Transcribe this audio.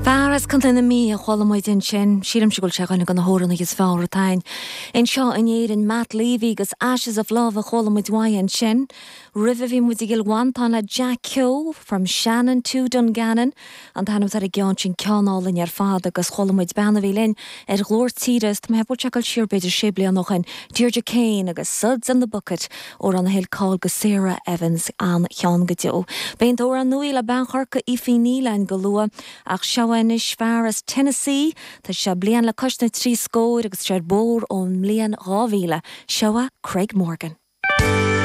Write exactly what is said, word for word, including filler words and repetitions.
Fear as Contae na Mí a chuala muid ansin, sílimse go bhfuil sé duine de na hamhránaithe is fearr atá againn. Anseo in Éirinn Matt Leavy agus Ashes of Love a chuala muid uaidh ansin. Roimhe bhí muid i gCill Mhantáin le Jack Keogh from Shannon to Dungannon, an t-ainm ar an gceann sin ceann álainn ar fad agus chuala muid bean a bhí linn ar Ghlór Tíre tá mé ag dul siar b'fhéidir sé bliana ó shin Deirdre Kane agus Suds in the Bucket amhrán a thuill cáil do Sarah Evans an-cheann go deo. Beidh an t-amhrán nua le bean Chorcaí Aoife Ní linn go luath ach seo anois fear as Tennessee Tá sé bliain le cois na trí scór agus sé bór ón mbliain dhá mhíle, seo Craig Morgan.